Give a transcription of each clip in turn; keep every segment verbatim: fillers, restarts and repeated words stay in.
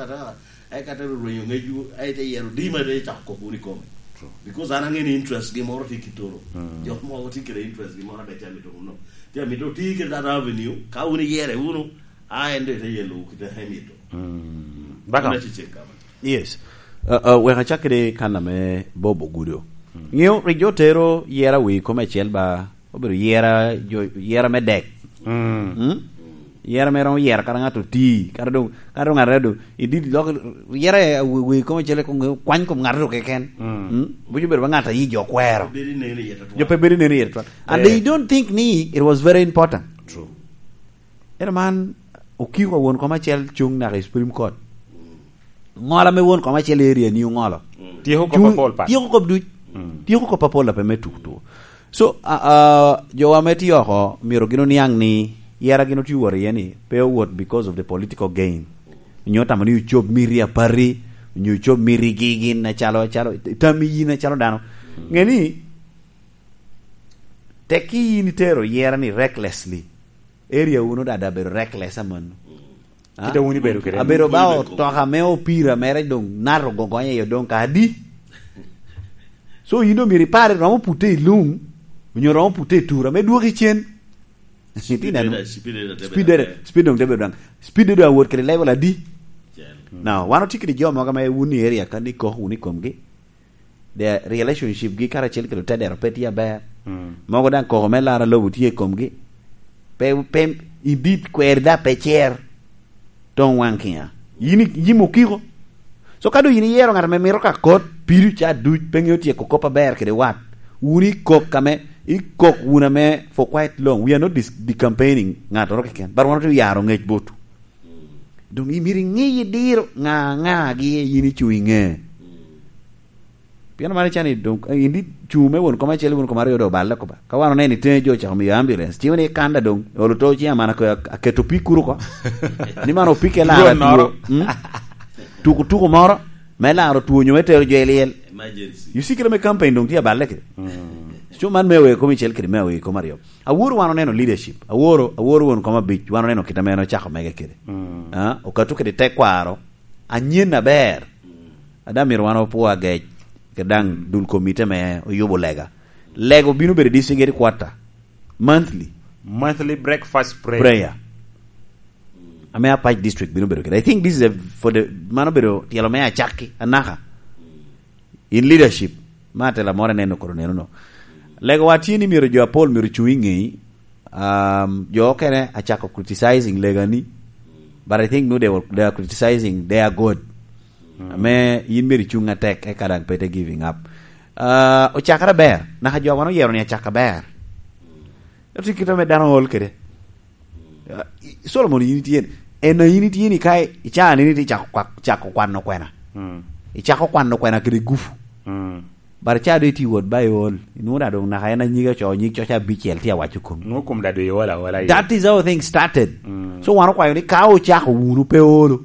Ata, ai kata rwenyo ŋecwu, ai te yero di ma te cako kop wunu i kome. Because an aŋeo ni interest gi moro tye kitoro. Jok mogo tye kede interest gi moro adac amito wunu. Tye amito ti kede that avenue, ka wun iyere wunu, a en doŋ ite yelo kite emito. Baka. Wun acecek kama. Yes. Uh, uh, wek acak kede kan ame Bob Ogudo. Ŋeo rik jo tero yera wi kome acel ba, obedo yera, jo, yera me dek. Mm? Yera me romo yera kara ŋato ti, kara doŋ, kara doŋ ŋato doŋ, i dit lok, yera wi, wi kome acel kong kwany kom ŋato doŋ keken. Mm? Buco bedo ba ŋato ayi jo kwero. Bedo neno yet atwal. Jo pe bedo neno yet atwal. And they don't think ni it was very important. True. Eno man, okiko won kome acel cuŋ naka i Supreme Court. Ŋola me won kome acel area ni oŋolo. Tyeko kop apol pat. Tyeko kop duc. Tyeko kop apol ape me tuk tuko. So, a, a, jo ame tye oko, myero gin oniaŋ ni yera gin otye wot iye ni, pe owot because of the political gain. Onyo tamo ni ocob miti apati, onyo ocob miti gi gin acalo, acalo, tammi yin acalo dano. Ŋe ni, tek ki yin itero yera ni recklessly. Area wunu dada abedo reckless amanno. Kite wun ibedo kede. Abedo ba otoka me opira mere doŋ nato gogonyo aye doŋ ka adi? So yin doŋ myero ipare romo pute i lum, onyo romo pute i tura, me dwoki cen. Speed doŋ te bedo doŋ. Speed doŋ te bedo doŋ. Speed doŋ awot kede level adi? Now, wan otye kede jo mogo ame wun i area ka ni kok wunu i komgi. The relationship gi karacel kede otedero pe tye aber. Mogo daŋ koko me lara lobo tye i komgi. Pe, pe, i dit kwer da pe cer. Toŋ waŋ kiŋa. Yin i-, yin okiko. So ka doŋ yin iyero ŋat ame mito ka kot, piri ca duc, pe ŋeo tyeko kop aber kede wat. Wun ikok ame, ikok wun ame for quite long. We are not dis-, decampaigning ŋattoro keken. But wan otye yaro ŋec botwu. Doŋ imito iŋi idiro ŋa, ŋa gi yin icuŋ i ŋe. Pien man icani doŋ, eh, indi cuŋ me won koma acel, won koma aryo doŋ oballe kuba. Ka wan oneno i teŋe jo ocako miyo ambulance, ciŋo ni ikanda doŋ, olo to ciŋ amana ko ak-, aketo pi kuro ko. Ni man opike lara tuo. Mm? Tuko tuko moro, me laro tuo nyo me tero jo i lyel. Emergency. You see kite me campaign doŋ tye aballe kede. Mm. Cuŋ man me awe kom icel kede me awe kom aryo. Aworo wan oneno leadership. Aworo, aworo won kom abic, wan oneno kite me en ocako mege kede. Mm. Ah, okato kede tekwaro. Anyen aber. Ada myero wan opwo agec, ke daŋ dul komite me oyubo lega. Lego bino bedo district headquarter. Monthly. Monthly breakfast prayer. Prayer. Ame Apac district bino bedo kede. I think this is a, for the, mano bedo tyelo me acakki, anaka. In leadership, ma atela moro aneno koro neno no. Lego wa tye ni myero jo apol myero cuŋ i ŋeyi, um, jo okene acako criticizing lega ni, but I think no, they were, they are criticizing their God. Ame yin myero icuŋ atek, eka daŋ pe te giving up. Uh, ocakere ber, naka jo wan oyero ni acaka ber. Ento kite ame dano ol kede. Uh, i-, Solomon yin itye ni, en a yin itye ni ka i-, icaa ni ni icako kwa-, cako kwano kwena. Mm. Icako kwano kwena kede gufu. Mm. But ca do iti wot ba iol, inwoŋo da doŋ naka en anyige oco nyig coca abicel tye awaco komi. Nwoŋo kom da do iol aola iye. That is how things started. Mm. So wan okwayo ni ka ocako wunu pe olo.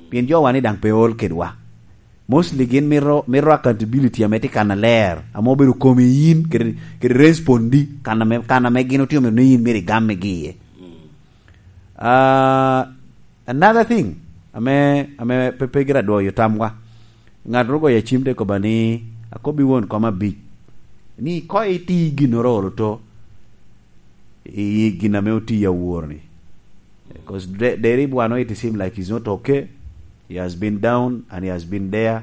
Pien jo wa ni daŋ pe ol kedwa. Mostly gin mito, mito accountability ame tye kan aler, ame obedo komi yin, kede, kede respondi, kan ame, kan ame gin otye omito ni yin myero igammigi iye. Ah, another thing, ame, ame pe, pe gira dwoyo tamwa. Ŋat ru goyo acim te koba ni, akobbi won koma abic, ni ko iti ginnoro olo to, i gin ame oti awor ni. 'Cause de-, Derib wan, it seem like he's not okay. He has been down and he has been there.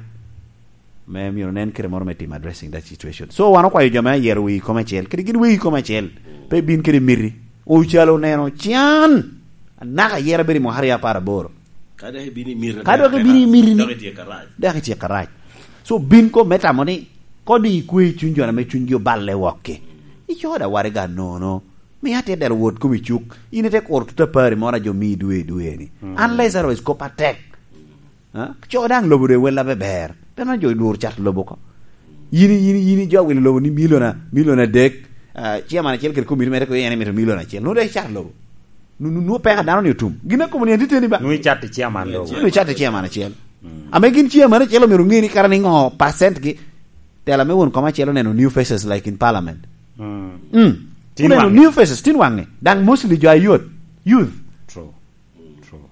Me myero nen kite moro me timo addressing that situation. So wan okwayo jo me ayero wii kom acel, kede gin wii kom acel, pe bin kede miti. Ocalo oneno can, anaka ayera bedo i mwaka aryo apar aboro. Ka dok ibino i miti, ka dok ibino i miti ni, dok itye karac. Dok itye karac. So bin kom me tamo ni, kodi ikwe i cuny jo ame cunygi oballe wokki. Icoda waraga nono. Mi atye dero wot kom i cuk. In ite kuro tuta pari moro a jo mi dwe i dwe ni. Mm. Unless otherwise kop atek. Ha? Co daŋ lobo doŋ wel abe ber. Pe man jo lworo cat lobo ko. Yin, yin, yin jo awilo lobo ni milion a-, milion adek. Ah, chairman acel kede komiti mere ko en emito milion acel. Nwoŋo dek icat lobo. Nu-, nu-, nwoŋo peko a dano ni otum. Gin a komiti en tye teni ba? Nwoŋo icat i chairman lobo. Nwoŋo icat i chairman acel. Mm. Ame gin chairman acel omyero ŋe ni kara ni ŋo percent gi. Tela me won kom acel oneno new faces like in parliament. Mm. Mm. Tin oneno waŋe. New faces, tin waŋe. Daŋ mostly jo ayot. Youth. True. True.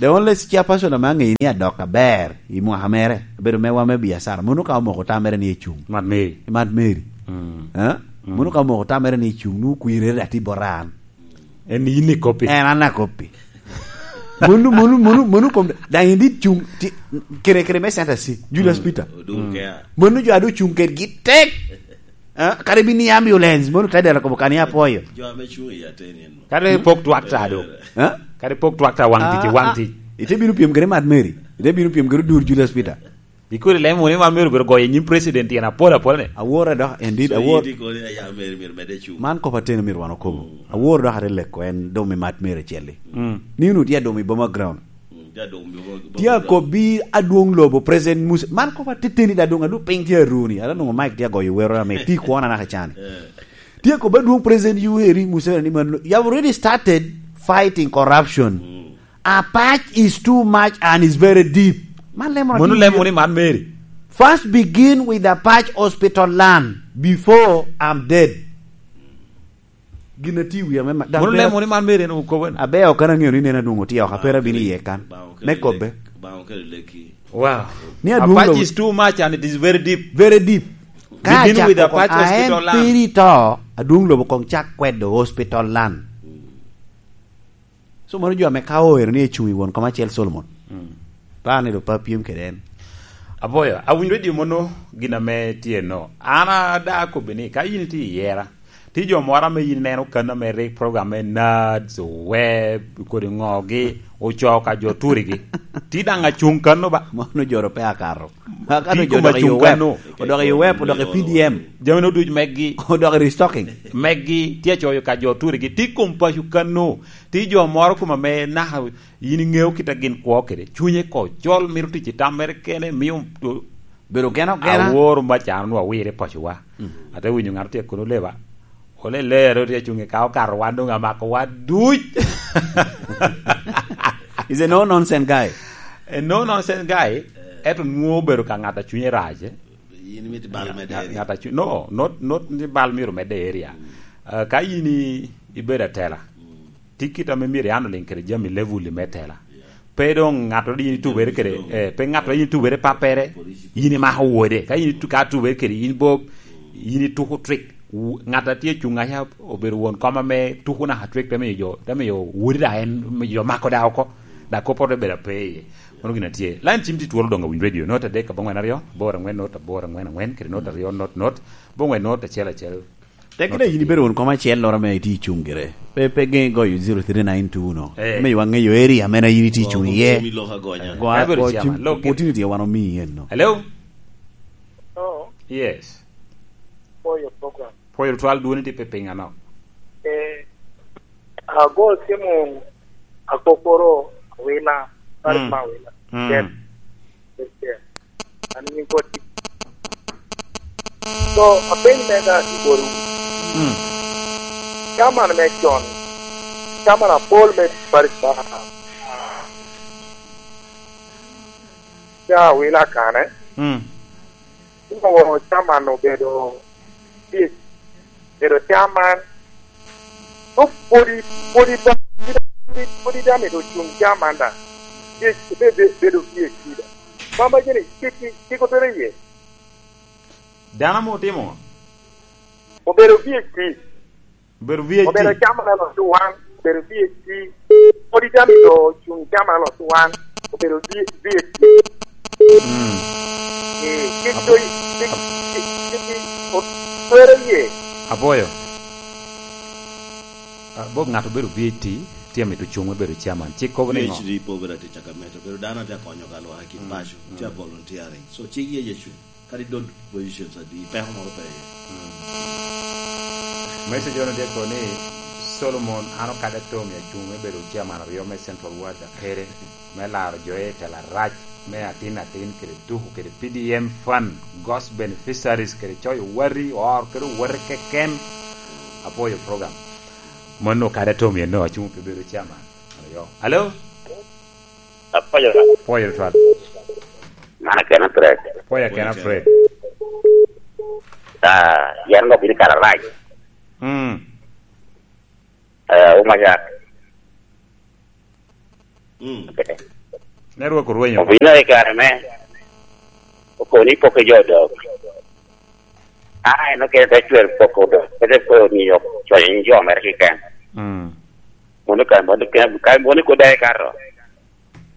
The only chairperson ame aŋeyo ni adok aber i mwaka mere, obedo mewa me biacara. Mono ka omoko tamere ni ecuŋ. Mad Mary. Mad Mary. Mm. Eh? Mm. Mono ka omoko tamere ni ecuŋ, nu kwirere ati boran. En yin ikoppi. En an akoppi. Mono, mono, mono, mono kom, daŋ in dit cuŋ, ti, kere, kere me Center C, Julius Mm. Peter. Odwogo Mm. kea. Mono jo adu cuŋ kedgi tek. Eh? Kare bini ambulance, mono tedera kobo kani apoyo. Jo ame cuŋ i ateni en. Kare pok twak ta do. Eh? Kare pok twak ta waŋ tic, Ah, waŋ ah. tic. Ite bino pyem kede Mad Mary. Ite bino pyem kede Odur Julius Peter. Ikodi lemo ni man myero bedo goyo i nyim president tyen apol apol ni. Awor adok, indeed, So, awor. in ikoni aya Mary myero mede cuŋ. Man kop ateni myero wan okobo. Mm. Awor dok ate leko en dum i Mad Mary acel-li. Mm. Ni unu tye adum i Boma Ground. Mm, tye adum i Boma, Boma Tye Ground. akobbi adwoŋ lobo, President Musa. Man kop ateteni da dum, adu piny tye aruni. Ada nwoŋo Mike tye agoyo wero ame tye kwona naka cani. Eh. Tye akobbi adwoŋ President Yoweri Museveni ni man, you have already started fighting corruption. Mm. Apach is too much and is very deep. Man lemo Mono lemo ni man Mary. First begin with Apach Hospital land before I'm dead. Gin ati wi ame ma-, Mono lemo ni man Mary en okobo ni. Abe ok an aŋeyo ni nen adwoŋ otye oko, apera bino iye kan. Baŋo kede Me kobbe. lek-, baŋo kede leki. Wow. Ni adwoŋ Apach lobo is too much and it is very deep. Very deep. Ka Begin acako with kong Apach a en Hospital land. piri to, adwoŋ lobo kong cak kwedo hospital land. So, mano jo ame ka oero ni ecuŋ i won kom acel Solomon. Mm. Par ni do pe apyem kede en. Aboyo, awinyo redio mono gin ame tye no. An ada akobbi ni, ka yin itye i yera, ti jo moro ame yin ineno kan ame rik program me Nads, Web, kodi ŋogi, ocoo ka jo turigi. Ti daŋ acuŋ kan no ba? Mano joro pe akato. Akato Ti jo koma dok i cuŋ Web. kan no. Odok i Web, odok i P D M. Jami no duc meggi. Odok i restocking. Meggi, ti acoyo ka jo turigi. Ti kom paco kan no. Ti jo moro kom ame naka yin iŋeo kit a gin kwo kede. Cunye ko col, mito tic i tam mere kene, mio to-, Bedo geno gena. Aworo ma cano nwa wire pacowa. Mm. Ate winyo ŋat tye kono leba. Ole lero tye cuŋe ka okato wan doŋ amako wa duc. He's a no nonsense guy. A no nonsense guy. Eto nwoŋo obedo ka ŋat a cunye rac, eh? Yin imito bal medde Ŋat, area. ŋat a cu-, no, not, not ni bal myero medde area. Mm. Ah, ka yin i-, ibedo atela, Mm. ti kit ame myero ian oliŋ kede jami level me tela. Yeah. Pe doŋ ŋattoro yin itubere kede, Jami doŋ. eh, pe ŋattoro yin itubere pappere, Police. yin imako wode. Ka yin itu-, ka tubere kede, yin bo, Mm. yin ituko trick. Wu-, ŋat a tye cuŋ aca obedo won kom ame tuko naka trick, te miyo jo, te miyo wodi da en, miyo jo mako da oko. Da kop poto bedo ape iye. Mano gin a tye. Line cim ti twolo doŋ awiny radio. Not adek aboŋwen aryo, aboro angwen not aboro angwen angwen, kede not aryo not not, aboŋwen not acel acel. Tekina yin ibedo won kom acel loro ame iti cuŋ gire. Pe, pe geŋ goyo zero three nine two no. Eh. Me ywa ŋeyo area mena yin iti cuŋ iye. Omi lok agonya. Gwa, Ka bedo gwa cim, chairman, lok gire. Opportunity wan omi yen no. Hello? Hello? Yes. For your program. Pwoyo twal dwoni tye pe piny ano? Eh, ago timo akokoro awila, Mm. ma awila. Mm. Yes. Yes, yes. An nying koti. So, apeny me da i bor wi. Mm. Chairman me con. Chairman apol me Paris Bar. Ca awila kane. Mm. Onwoŋo chairman obedo, obedo chairman. Dok pwodi, pwodi ba-, pwodi, pwodi dame do cuŋ chairman da. Ye, be, be, bedo P H D da. Bamba jene, cik, cik, cik otere iye. Dano ame otimo? Obedo P H D. Obedo V H D. Obedo chairman aloc wan, obedo V H D. Pwod icamo i do cuŋ chairman aloc wan, obedo V-, V H D. Mm. Eh, kit Abo-, do i-, kit, kit, kit i-, o-, twere ye. Aboyo. Ah, bok ŋat obedo V H D, tye mito cuŋ me bedo chairman. Cik kobo ni ŋo? V H D po obedo ati caka meto, obedo dano ati akonyo ka lwak i kit Mm, paco, mm. Tye a volunteering. So, cik ye Yecu. Kadi dot positions adi, peko moro pe iye. Mm. Message ono tye kono ni, Solomon, an okadde Tommy acuŋ me bedo chairman aryo me Central Ward Akere, me laro jo i tela rac, me atin atin kede tuku kede P D M fund, ghost beneficiaries kede coyo wati, or kede wati keken. Apwoyo program. Mano okadde Tommy eno acuŋ pe bedo chairman aryo. Hello? Apwoyo. Pwoyo twal. Man akena Fred. Pwoyo akena Fred. Ah, yan ngo bini kara rac. Mm. Eh, umaja. Mm. Network orwenyo. Obino i kare me, okobo ni pok i jo odok. A, en okene te cwer pok odok. Kede ko ni yok cwany jo mere keken. Mm. Mono ka, mono ka, ka, mono ko dai karo.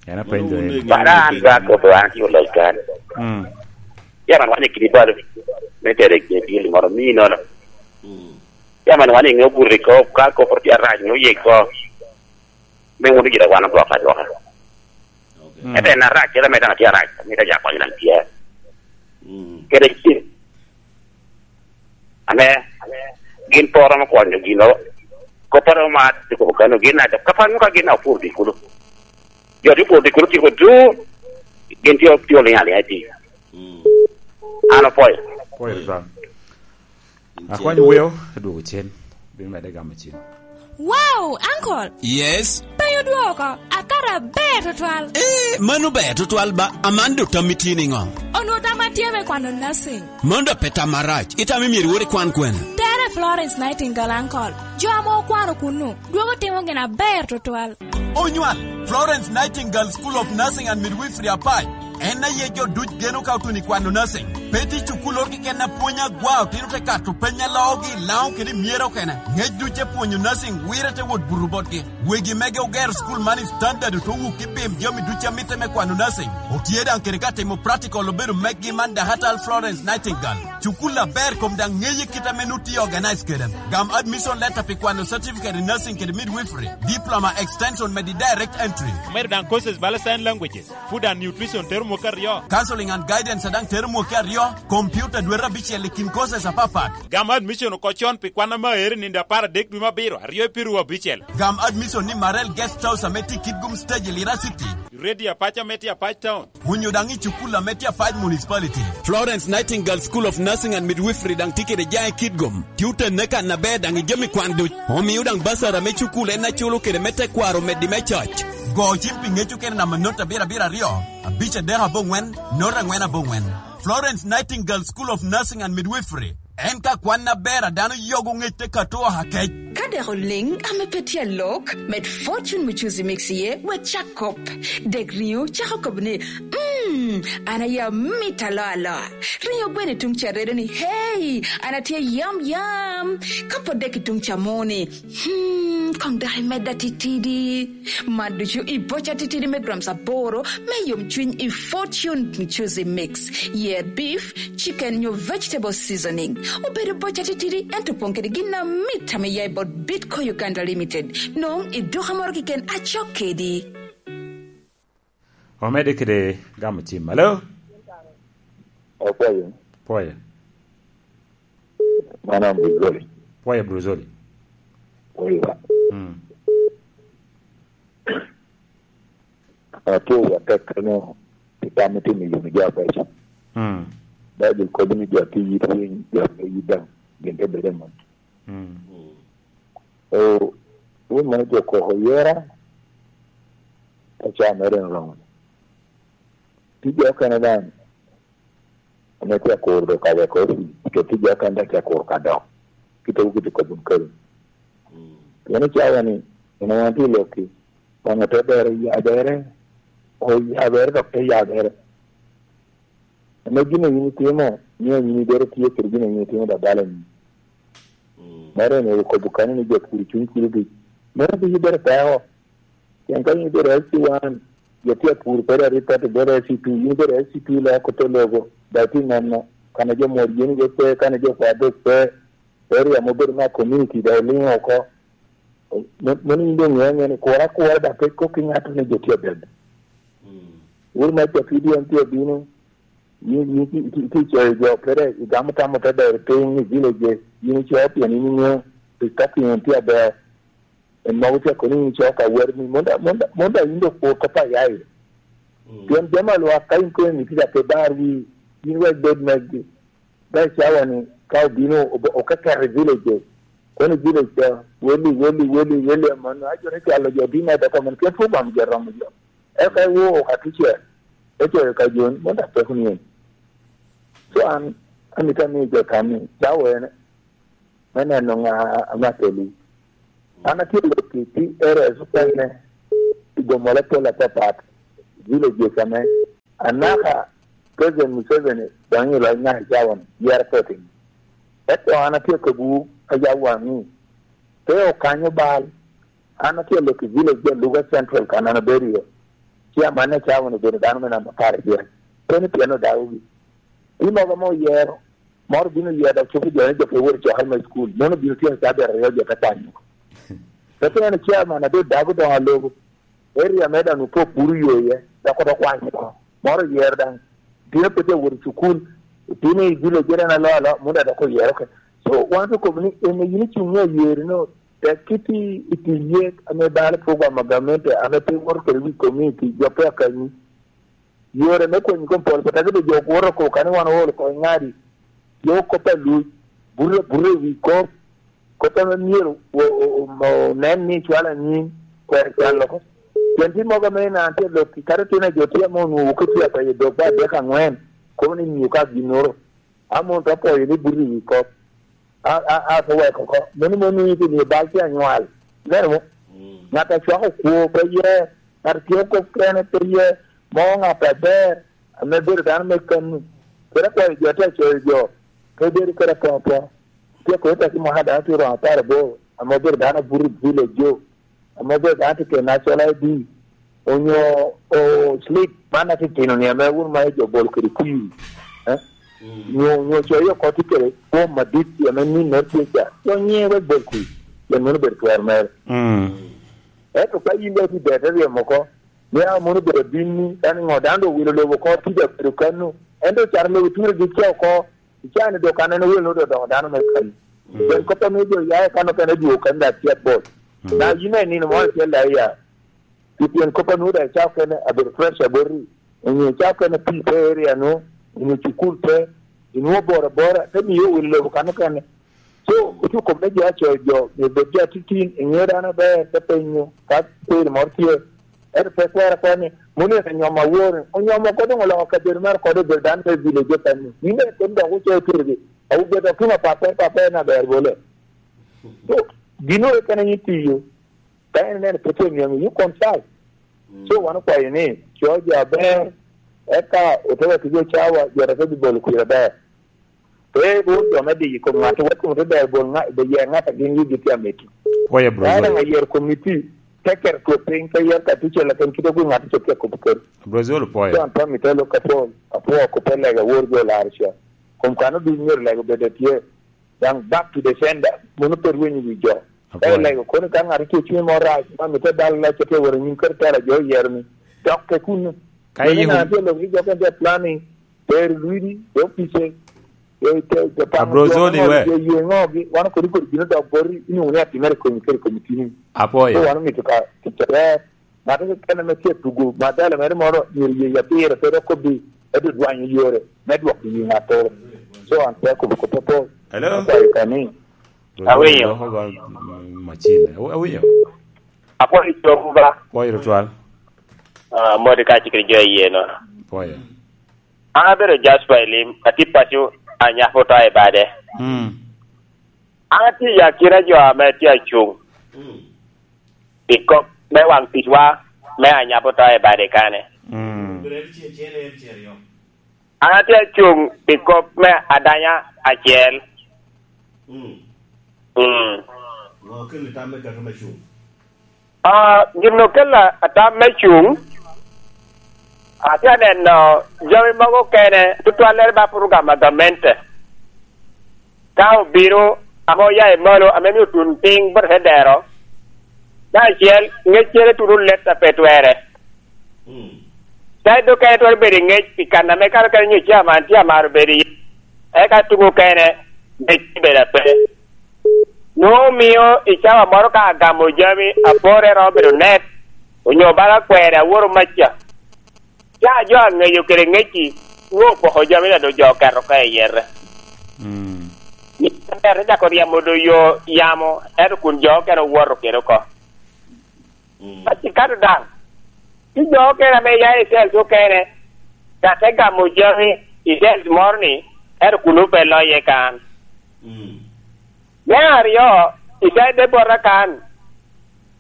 En apenjo en. Bara an ba ko ba an ti olai kan. Mm. Ya man wane kidi balo. Me tere ke dil moro mi nono. Mm. Ya man wane ngo burri ko, ka ko por ti arac ngo ye ko. Me wunu gira wan gwok adwoka. Okay. Mm. Ete na rac, kede me dano tye arac, me ka ja konyo nan tye. Mm. Kede ci. Ame, gin poro mo konyo gino. Koparo ma, tiko kano gin na, kapar mo ka gin na opur di kulu. Jo di opur di kulu tiko du, gin tye, tye oliŋ aliŋa i pi. Mm. An opwoyo. Pwoyo, Rizal. Akwany weo, adwogo cen. Bino medde gamo cen. Wow, uncle! Yes? Pe odwoko, akato aber tutwal. Eh, mano ber tutwal ba, aman do tammi tye niŋo? Onwo tamma tye me kwano nursing. Mano da pe tam arac, itamo myero iwor ikwan kwene? Tere Florence Nightingale, uncle. Jo ame okwano kunnu, dwogo timo gin aber tutwal. Onywal, Florence Nightingale School of Nursing and Midwifery Apac. En aye jo duc geno ka otuno i kwano nursing. Pe tye cukul oro keken apwony agwa, otino te kato peny aloogi i Laŋo kede i Myera okene. Ngec duc te pwonyo nursing, wire te wot buto botgi. Wegi mege ogero cukul man i standard, ote wuk i pim jami duc a mitte me kwano nursing. Otye daŋ kede ka timo practical obedo meggi man Dahatal Florence Nightingale. Cukul aber kom daŋ ŋeye kit ame nu tye organize kede. Gam admission letter pi kwano certificate in nursing kede midwifery, diploma extension medi direct entry. Omedo daŋ courses bala sign languages, food and nutrition tero mwaka aryo. Counseling and guidance daŋ tero mwaka aryo, computer dwete abicel i kin courses apapat. Gam admission oko con pi kwan ame aero i nino apar adek dwe me abiro, aryo i piru abicel. Gam admission ni Marel Guest House ame tye i Kitgum Stage i Lira City. Radio Apac ame tye Apac Town. Onyo daŋ i cukul ame tye Apac Municipality. Florence Nightingale School of Nursing and Midwifery daŋ tye kede jaŋ i Kitgum. Tye otenne kan aber daŋ i jami kwan duc. Omio daŋ basara me cukul en aculo kede me tekwaro omeddi me coc. Go cim pi ŋec okene namba not abiro abiro aryo, abic adek aboŋwen, not angwen aboŋwen. Florence Nightingale School of Nursing and Midwifery. En ka kwan aber a dano yogo ŋec te kato oha kec. Ka dek oliŋ ame pe tye alok, med Fortune Muchuzi Mix iye, wek cak kop. Dek riŋo cako kobo ni, "Mm, an aye amit aloa aloa." Riŋo gweno i tuŋ ca redo ni, "Hey, an atye yam yam." Ka po dek i tuŋ ca mo ni, "Hmm, koŋ dok imedda titidi." Man ducu i boca titidi me grams aboro me yomcwiny i Fortune Muchuzi Mix. Yer beef, chicken nyo vegetable seasoning. Obedo boca titidi, ento opoŋ kede gin amit ame ya i bot Bitco Uganda Limited. Noŋ i duka moro keken acok kedi. Omedde kede gamo cim. Alo? Opwoyo. Pwoyo. Mano Bruzoli. Pwoyo Bruzoli. Pwoyo. Mm. Apwoyo atek kano pi tam itimo i yuni jo abeco. Mm. Baibul kobo ni jo a tye yit winy, jo a pe yit daŋ, gin te bedo i mot. Mm. O, wun mano jo koko yera, te ca mere en oromo. Tye jo okene daŋ, ame tye akur dok ka weko osi, kede tye jo okene daŋ tye akur ka dok. Kite wu kite kobbi kalo. Mm. Pien icawa ni, en wan tye i lokki, Obaŋa te bere yabere, oyabere dok te yabere. Ame gin a yin itimo, mio yin ibedo tye kede gin a yin itimo dok balo ni. Mm. Mano en okobo kanyo ni jo pur i cuny kulo duc. Meno dok ibedo peko. Pien ka yin ibedo S C one, jo tye apur kede aripot ibedo S C two, yin ibedo S C two loko te lobo, dok tye neno, kan a jo mor yen iye pe, kan a jo kwa dok pe, area mobedo me community dok iliŋo oko. Me-, meno yin doŋ ŋeo ŋeo ni kura akura dok pe kok ki ŋato ni jo tye abed. Mm. Wun me Capidian tye abino, yin, yin ki, ki, ki coyo jo, kede igamo tamo te ber piny i village, yin icoyo pien yin iŋeo, pi ka piny tye aber. En mogo tye kono yin icoyo ka wer ni, mon da, mon da, mon da yin dok kur kop a ya iye. Mm. Pien jami a lwak ka yin kono ni tye ka pe bar wi, yin wek bed megi. Dok i cawa ni, ka obino, ob-, okeketo i village, kono i village ca, weli, weli, weli, weli, aman, ajo ni cwalo jo, di me doko man, kit fu bam jo romo jo. Eka iwo ka tucel, ecoyo ka jo ni, mon da peko ni en. So an, amito ni jo tam ni, cawa en, me neno ŋa ame akeli. An atye i lok i P R S okene, P i gomola pol apapat, villages ame anaka President Museveni doŋ i loc naka i cawa-ni, yero pe otimo. Ento an atye akobbiwu ka yam waŋ ni, pe okanyo bal. An atye alok i village de Luga Central kan an abedo iye. Chairman me cawa-ni obedo dano me namba apar gire. Pe ni pien odagogi. Pi mogo ame oyero, moro bino yero dok cuko jo ni jo pe wot i cokere me cukul. Meno obino tyeko ca abiro aryo jo te kwanyo oko. Pe ni chairman a doŋ dago doŋ alobo. Area me daŋ opok buru yo iye, dok odok kwanyo oko. Moro oyero daŋ. Bino pe te wot i cukul, bino i village en alo alo, munu dok oyero oko. So, wan okobo ni en a yin icuŋ i ayeri no, tek kit i, i ti yek ame balo program a gamente ame pe woto kede wi community, jo pe akanyi. Yore me konyi kom pol, kata kede jo kwoto oko, kani wan oolo oko i ŋadi, jo kop a luc, burre, burre i wi kop, kop ame myero o-, o-, o-, onen ni cwalo anyim, kwero cwalo oko. Pien tye mogo ame na tye lok i kare tyen a jo tye ame onwoŋo ki tye apayo dok ba adek aŋwen, kobo ni nyo ka ginnoro. Amon te pwoyo ni buto i wi kop. A, a, a, te weko oko. Meno mom miyo pi nio bal tye anywal. Ineno mo? Mm. Ŋat a cwako kwo pe ye, ŋat a tio kop kene pe ye, mo ŋat aber, ame bedo dano me kano. Kede akwayo jo te coyo jo, pe bedo kede apopo. Tye kodi taki mwaka dano tye romo apar aboro, ame obedo dano abuto i village jo. Ame obedo dano tye kede National I D, onyo, o, slip man atitino ni ame wun ma jo bolo kede kwir, eh? Mm. Nyo, nyo coyo oko tye kede form madit ame ninnoro tye ca, co nyiŋe wek bol kwir, pien meno obedo twero mere. Mm. Ento ka in daŋ itye i ber te ryemo oko, ni a mono obedo abinni, kan ŋo dano doŋ owilo lobo oko, tye daŋ obedo kano, ento ocano lobo ture gi ca oko, Icaa-ni dok aneno wel nwoŋo dok dano me kal. Mm. Pien kop ame jo ya i kan okene dwogo kan da tye abot. Mm. Na yin daŋ i nino moro acel daŋ iya. Pi pien kop a nwoŋo daŋ icaa okene abedo fresh aboti. Onyo icaa okene pii pe area nwoŋo, onyo cukul pe, inwoŋo boro abora, te miyo wil lobo kan okene. So, ocuko me jo acoyo jo, myero bed jo atitin, iŋeo dano aber, te penyo, ka kwiri moro tye. Ento pe kwero akwera ni, moni en onyomo awor, onyomo oko doŋ oloko kabedo mere kode obedo dano me village okene. Yin daŋ ikono dok ocoyo turgi, awobi dok tuno pape, pape en aber bole. So, gin oro kene yin tiyo, ka en neno pe tye onyomo, you consult. Mm. So, wan okwayo ni, co jo aber, eka ote wek jo cawa, jo te bibolo kwir aber. Pe iwot jo me diyo i kom ŋat, wek kom te ber bol ŋa-, ber yer ŋat a gin wigi tye amito. Pwoyo, Bro Zolo. Ka daŋ ayero komiti, te keto twok piny, te yer ka tucel aken kite kun ŋat ocop tye akobo keri. Bro Zolo, pwoyo. John Tommy te lok apol, apwoo kop lega wor jo laro ca. Kom kan oduc myero lega obed atye. Daŋ back to the sender, mono pe rwenyo wi jo. Ka ilego kono ka ŋat tye cuny mo rac, ma mitte balo lac, tye wot anyim kadi tela jo oyero ni, dok ke kuno. Ka mano iyiko na tye lok ni jo kene tye planning, tero lwidi, jo opice, jo, jo, jo pamo Abro jo Zoli ŋo, we. Jo ywe ŋogi, wan kodi kodi bino dok boti, inwoŋo ni atimere komi kede komi tini. Apwoyo. So wan omito ka, tic aber, ŋat kene ame tye tugo, madala mere moro, myero ye ya pire, pe dok kobbi, eto dwanyo yore, me dwoko yi ŋattoro. So an pe akobo kop apol. Hello? Akwayo ka ni, Awinyo. Dok ogo, mm, macil. Aw-, awinyo. Apwoyo cobu ba. Pwoyo tutwal. Ah, modi ka cikri jo iye no. Pwoyo. An abedo Jasper Elim, atye paco, anyako to i bade. Mm. An atye i akina jo ame tye acuŋ. Mm. I kop me waŋ ticwa, me anyako to i bade kane. Mm. An atye acuŋ i kop me adanya acel. Mm. Mm. Ŋo okelo tam me kaka me cuŋ? Ah, gin okelo atam me cuŋ, atye aneno jami mogo okene, tutwallere ba program a gamente. Ka obino, ame oya i malo, ame mio tun piny bot te dero, me acel, ŋeccere tuno let a pe twere. Mm. Side okene twero bedo i ŋec pi kan ame kano kene nyo chairman tye amaro bedo iye. Eka tuŋ okene, ŋec tye bedo ape. Nwoŋo omio i cawa moro ka agamo jami, apore romo bedo net, onyo bala kwene aworo maca. Ka jo aŋeyo kede ŋec-ci, nwoŋo opoko jami na doŋ jo oketo ka i yete. Mm. Ni ber te cako ryemo doŋ yo yamo, ento kun jo okene owoto kede oko. Mm. Ka cikato daŋ, ci jo okene ame ya i cells okene, ka te gamo jami i cells moro ni, ento kun pe loye kan. Mm. Me aryo, i side bota kan,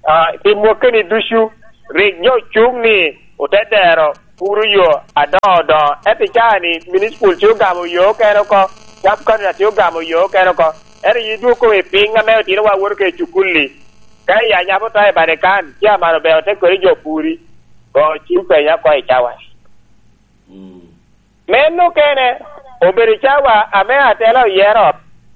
ah, pi mwakkeni ducu, rik jo cuŋ ni ote dero puro yo adoŋo doŋo. Ento i caa ni, municipal tye ogamo yo okene oko, sub county tye ogamo yo okene oko. Ento yi dwoko i piny ame otino wa woto kede cukul-li. Ka i anyabo to i Vatican, chairman obeo te kodi jo puri. Go cim penya oko i cawa. Mm. Meno okene, obedo cawa ame atela oyero,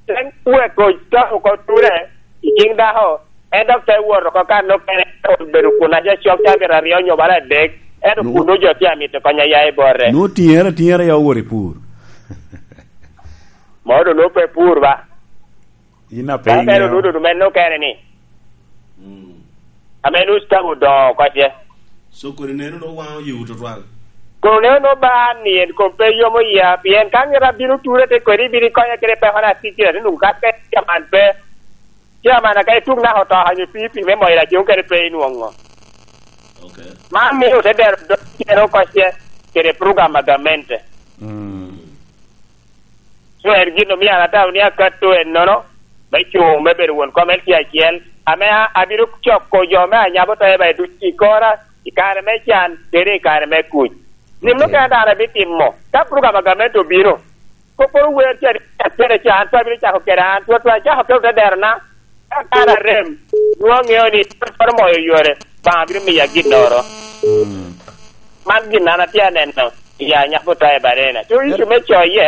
te weko to oko ture i ciŋ dako, en dok te wot oko kan okene, obedo kun aja cok cabit aryo nyo bala adek, ento No. kun ojo tye amito kony aya i bote. Nwo tiŋere atiŋera ya owot i pur. Ma odo nwo pe pur ba. Yin a pe Ka bene iŋeo. Odudo meno okene ni. Mm. Ame nus tabo odoŋo oko ce. So kodi neno no waŋ oyewu tutwal. Kono neno no ba ni en kom pe yomo ya, pien ka ŋera bino ture te kodi bino konye kede peko na tiki na nung ka pe chairman pe. Chairman ka ituk naka oto hanyo pi pi me moyo la jung kede pe inwoŋo. Okay. Man miyo te dero dok cero oko ce kede program a gamente. Mm. So en gin omio an atamo ni akato ennono, me cuŋ me bedo won kom L C acel, ame a-, abino coko jo me anyabo to eba i duc i kora, i kare me can, kede i kare me kuc. Gin mukene dano abitimo, ka program a gamente obino, kopporo wer cadi acel ca, an pe abino cako kede an, twatwa acako kede te derona, ka kan arem, nwoŋo aŋeo ni, twatwaro moyo yore, Obaŋa bino miya ginnoro. Mm. Man gin an atye aneno, i anyabo to i barena. To icu me coye,